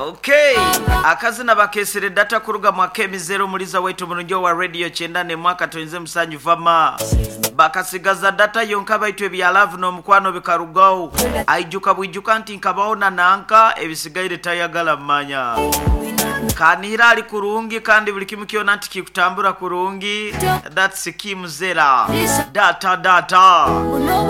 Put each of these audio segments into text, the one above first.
Okay, akazina bakesere data kuruga mwakemizero muliza waitu mulungi wa radio kyenda ne mwaka toyinze musanyu vama bakasigaza data yonka baitu ebya love n'omukwano bikarugaho aijuka bwijuka nti nkabaona nanka ebisigaire tayagala mmanya kanihira ali kurungi kandi buli kimu kyona nti kikutambura kurungi. That's Kim Zera data data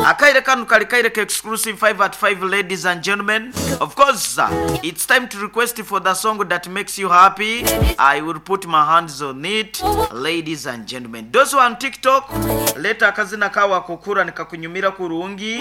akaire kanu kali kaire ka exclusive 5 at 5. Ladies and gentlemen, of course it's time to request for the song that makes you happy. I will put my hands on it, ladies and gentlemen. Those who are on TikTok, leta akazina kawa kukura nikakunyumira kurungi.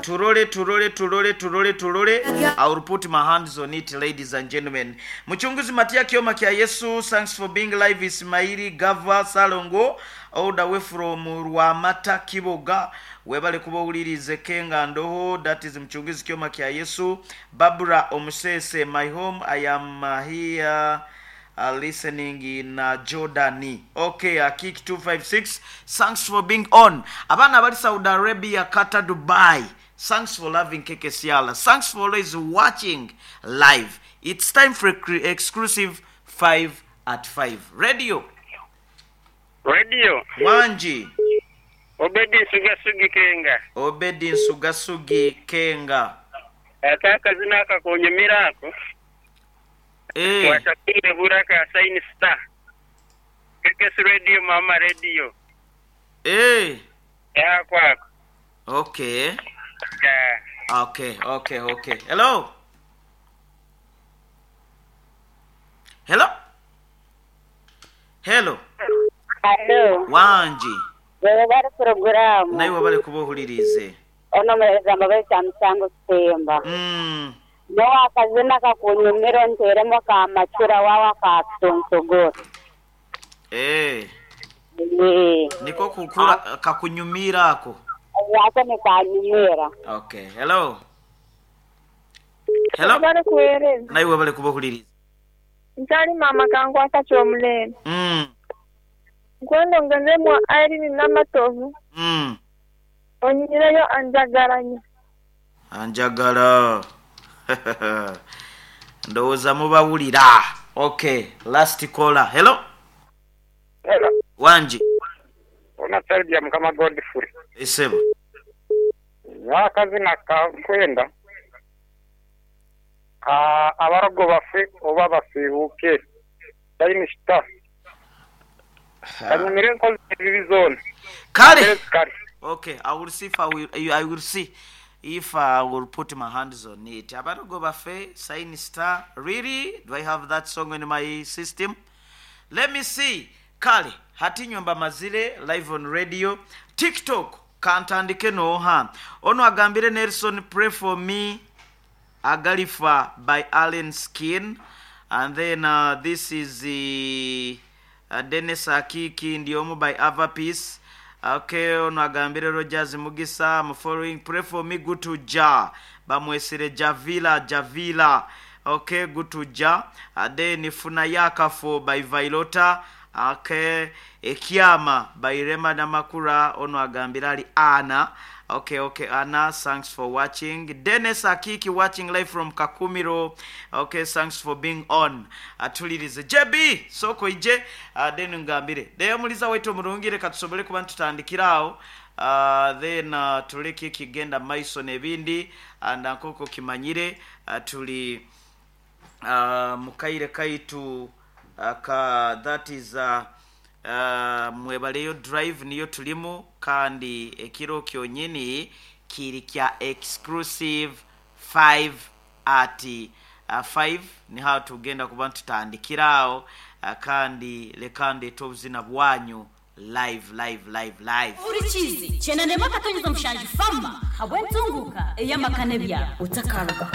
Turole turole turole turole turole. I will put my hands on it, ladies and gentlemen. Mchunguzi Matia Kioma Kia Yesu, thanks for being live. Ismaili Gava Salongo all the way from Rwamata Kiboga, webale kuba owulirize Kenga Ndoho. That is Mchunguzi Kioma Kia Yesu. Babura Omusese, my home, I am here listening in Jordani. Okay, Kick 256, thanks for being on. Abaana abali Saudi Arabia, Qatar, Dubai, thanks for loving KKCR. Thanks for always watching live. It's time for exclusive 5 at 5 radio. Radio. Wanji. Obedi Nsugasugi Kenga. Obedi Nsugasugi Kenga. Aka akazina akakunyumira ako. Wasakire buraka Sign Star. KKS Radio, Mama Radio. Ya kwako. Okay. Yeah. Okay. Hello. Hello. Hello. Hello. Wanji. Wewe bari programu. Nawe wabale kubohulirize. Ono mwereza baita msango Kitemba. No akazina kakunyumira nteremo ka machura wawa ka tonsogoro. Niko kukura kakunyumira ako. Yako ni kanyumira. Okay. Hello. Hello. Bari kuwereza. Nawe wabale kubohuliriza. Ntali mama kankwata kyomulene. Nkwendo ngenzemu Irene Namatovu. Onyireyo anjagalanya. Anjagala. Ndowooza mubawulira. Okay, last caller. Hello. Hello. Wanji. Ona Sergia Mukama Godfrey. Esebo. Akazina kankwenda. Abarogo baffe oba basiibuke. Sign Star. Kanyumire nkozi ebibi zona. Kale. Okay, I will see if I will see if I will put my hands on it. Abarogo baffe, Sign Star. Really? Do I have that song in my system? Let me see. Kale, hati nyumba mazile live on radio. TikTok kantandike noha. Ono agambire Nelson, pray for me. Agalifa by Allen Skin. And then this is the Dennis Akiki Ndiomu by Ava Peace. Okay, ono agambire Rogers Mugisa, I'm following, pray for me, good to Ja. Bamwesere Javila, Javila. Okay, good to Ja. Then Funayaka for by Vailota. Okay, Ekiama by Rema Namakura. Ono agambire ali Anna. Okay, Anna, thanks for watching. Dennis Akiki watching live from Kakumiro. Okay, thanks for being on. Atulirize JB soko ije then ngambire. Leyo muliza wetu mulungire katusobole kuba tutandikirawo. Then tuleke kigenda maiso nebindi and ankoko kimanyire tuli mukaire kaitu ka that is mwebaleyo drive niyo tulimu kandi ekiro kyonyini kiri kya exclusive 5 at 5 ni how tugenda kuba tutandikirawo kandi lekande tobuzina bwanyu live live live live urikizi chenanema katonyeza mushanji fama habwe ntunguka eyamakane bya utakaruga.